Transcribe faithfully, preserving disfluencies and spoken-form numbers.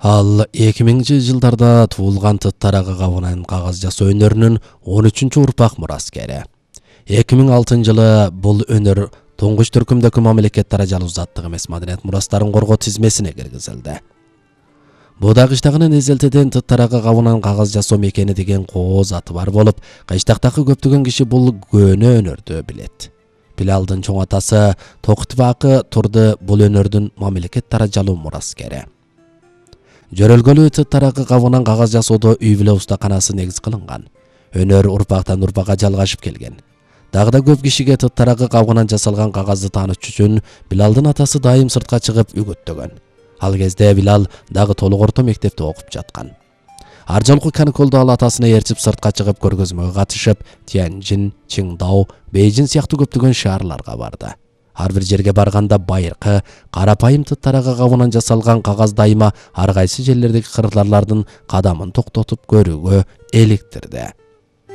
Ал эки миңинчи жылдарда туулган тыт тарагы кабынан кагаз жасоо өнөрүнүн он үчүнчү урпак мураскери. эки миң алтынчы жылы бул өнөр туңгуч түркүмдөгү мамлекет даражалуу заттык эмес маданият мурастарын коргоо тизмесине киргизилди. Буда кыштагынын эзелтеден тыт тарагы кабынан кагаз жасоо мекени деген кооз аты бар болуп, кыштактагы көптөгөн киши бул көөнө өнөрдү билет. Билалдын чоң атасы Токтубакы турду бул өнөрдүн мамлекет даражалуу мураскери. Жөрөлгөлүү тыт тарагы кабынан кагаз жасоодо үй бүлө устаканасы негиз кылынган. Өнөр урпактан урпакка жалгашып келген. Дагы да көп кишиге тыт тарагы кабынан жасалган кагазды таанытыш үчүн Билалдын атасы дайым сыртка чыгып үгүттөгөн. Ал кезде Билал дагы толук орто мектепте окуп жаткан. Ар жолку каникулда ал атасына ээрчип сыртка чыгып көргөзмөгө катышып, Тяньжин, Чыңдау, Бейжин сыяктуу көптөгөн шаарларга барды. Ар бир жерге барганда байыркы, карапайым тыт тарагы кабынан жасалган кагаз дайыма ар кайсы жерлердеги кыргызлардын кадамын токтотуп көрүүгө эликтирди.